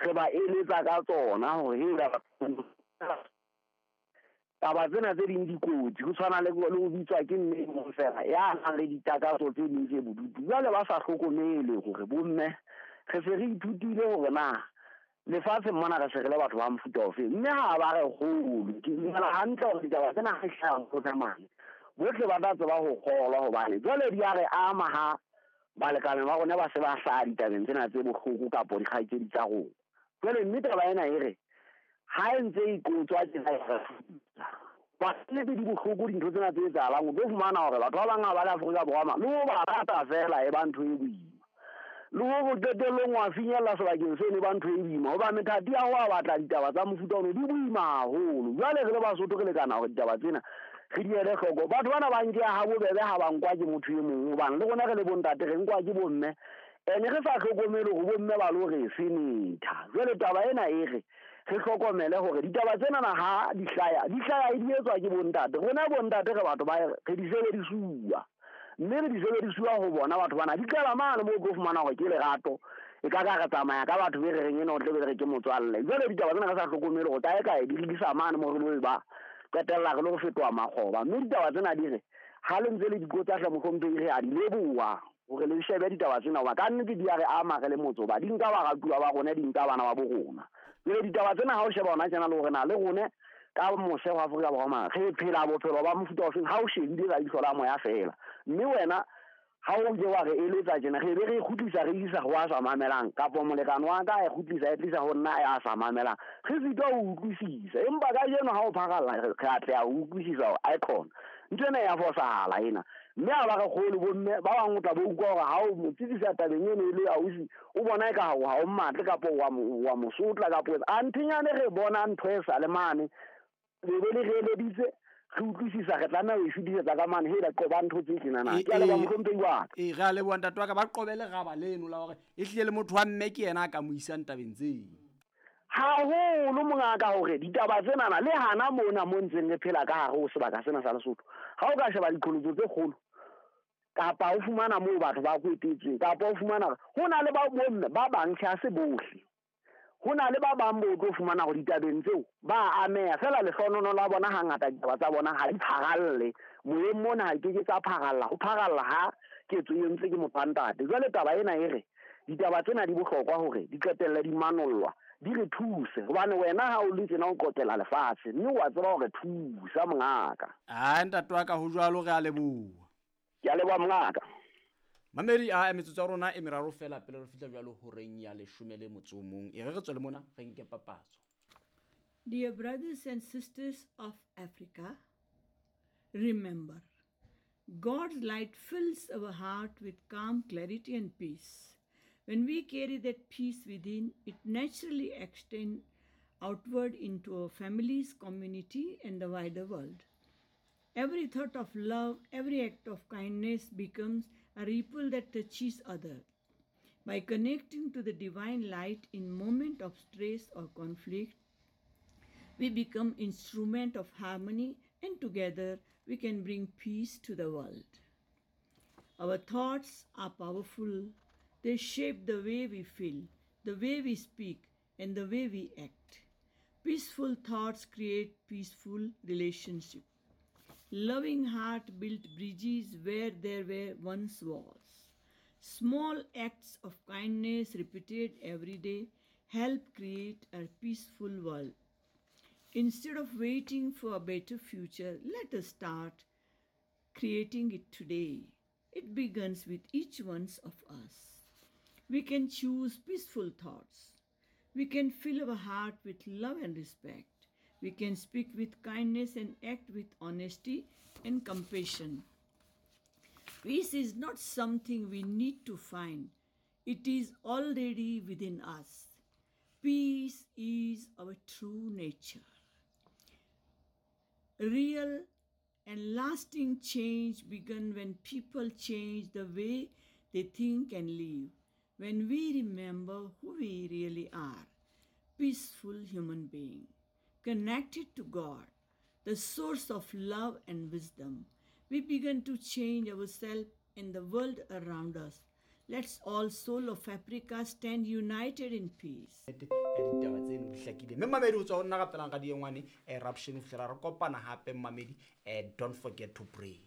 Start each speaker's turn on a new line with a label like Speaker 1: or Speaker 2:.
Speaker 1: Re ba eletsa ka tsona hore hela taba tsena tse ding dikotsi, ho tshwana le ho bitswa ke mme e mong fela ya nang le ditakatso tse ding tse bodutu. Jwale ba sa hlokomele hore bomme re se re ithutile hore na lefatsheng mona re se re le batho ba mofuta ofeng, mme ha ba re kgolo. Ke dumela hantle hore ditaba tsena ha di hlaha ho mane, bohle ba tla tseba ho kgolwa, hobane jwale di a re ama ha balekane ba rona ba se ba hlaha ditabeng tsena tse bohloko kapo dikgaitsedi tsa rona. Jwale mme taba ena e re ha e ntse e qotswa tjena, e re nnete di bohloko dintho tsena tse etsahalang. O tlo fumana hore batho ba bang ha ba le Afrika Borwa ma le ho ba rata fela e ba ntho e boima, le hore qetellong wa finyella sebakeng seno e ba ntho e boima, hoba methati ya ho a batla ditaba tsa mofuta ono di boima haholo. Jwale re le Basotho re lekana hore ditaba tsena re di ele hloko. Batho bana ba nkeha ha bobebe ha ba nkwa ke motho e mong, hobane le rona re le bontate re nkwa ke bomme, ene re sa hlokomele hore bomme ba lo re fenetha. Jwale taba ena e re re hlokomele hore ditaba tsena na ha di hlaya, di hlaya e di etswa ke bontate. Rona bontate re batho ba re di sebedisuwa, mme re di sebedisuwa ho bona batho bana di qala mane moo o tlo fumana hore ke lerato, e ka ka re tsamaya ka batho be re reng ena o tle be re ke motswalle. Jwale ditaba tsena re sa hlokomele hore kae kae di re isa mane moo re lo ba qetella re lo fetoha makgoba. Mme ditaba tsena di re ha le ntse le dikotsa hle mohlomphehi, re a di leboha hore le shebe ditaba tsena, hoba ka nnete di a re ama re le motse, hoba di nka baratuwa ba rona, di nka bana ba bo rona. Jwale ditaba tsena ha o sheba hona tjena le hore na le rone ka mose ho Afrika Borwa mane re phela bophelo ba mofuta ofeng, ha o shebile ka leihlo la moya fela. Mme wena ha o ile wa re eletsa tjena, re be re kgutlisa re isa ho a sa mamelang, kapo molekane wa ka a e kgutlisa e tlisa ho nna ya sa mamelang, re sitwa ho utlwisisa. Empa kajeno ha o pharalla re atleha ho utlwisisa hore aekhona ntho ena ya fosahala ena. Mme ha ba re kgolo bomme ba bang o tla bo utlwa hore ha o mo tsebisa tabeng eno e le ausi, o bona eka ha o mmatle kapo wa mo sotla kapo a nthenyane. Re bona ntho e sa le mane, le be le re eleditse, re utlwisisa, re tlameha ho e fetisetsa ka mane. Hela qoba ntho tse tjenana. Ke a leboha mohlomphehi wa ka.
Speaker 2: Ee, re a leboha ntate wa ka. Ba qobe leraba leno la hore e hlile le motho wa mme ke yena a ka mo isang tabeng tseo.
Speaker 1: Haholo mongaka, hore ditaba tsenana le hana mona mo ntseng re phela ka hare ho sebaka sena sa Lesotho, ha o ka sheba diqholotso tse kgolo, kapa o fumana moo batho ba kwetetsweng, kapa o fumana ho na le ba bomme ba bang, tjhe ha se bohle, ho na le ba bang bo tlo fumana hore ditabeng tseo ba ameha fela. Lehlohonololo la bona hangata ditaba tsa bona ha di pharalle moyeng mona, ha ke ke tsa pharalla, ho pharalla ha ketso e entse ke motho wa ntate. Jwale taba ena e re ditaba tsena di bohlokwa hore di qetelle di manollwa, di re thuse, hobane wena ha o le tjena o qotela lefatshe, mme wa tseba hore thusa mongaka.
Speaker 2: A ntate wa ka, ho jwalo, re a leboha.
Speaker 1: Ke a leboha mongaka.
Speaker 2: Mamedi a metsotso ya rona e meraro fela pele re fihla jwalo horeng ya 11. E re re tswele mona re nke papatso.
Speaker 3: Dear brothers and sisters of Africa, remember, God's light fills our heart with calm, clarity and peace. When we carry that peace within, it naturally extends outward into our families, community, and the wider world. Every thought of love, every act of kindness becomes a ripple that touches others. By connecting to the divine light in moment of stress or conflict, we become instrument of harmony, and together we can bring peace to the world. Our thoughts are powerful. They shape the way we feel, the way we speak, and the way we act. Peaceful thoughts create peaceful relationships. Loving heart built bridges where there were once walls. Small acts of kindness repeated every day help create a peaceful world. Instead of waiting for a better future, let us start creating it today. It begins with each one of us. We can choose peaceful thoughts. We can fill our heart with love and respect. We can speak with kindness and act with honesty and compassion. Peace is not something we need to find. It is already within us. Peace is our true nature. Real and lasting change begins when people change the way they think and live. When we remember who we really are, peaceful human being, connected to God, the source of love and wisdom, we begin to change ourselves and the world around us. Let's all soul of Africa stand united in peace.
Speaker 2: Ya ditaba tseno di hlakile mme mmamedi o tswa go nna gapelang ga diengwane eruption o fitlhela re kopana gape mmamedi, don't forget to pray.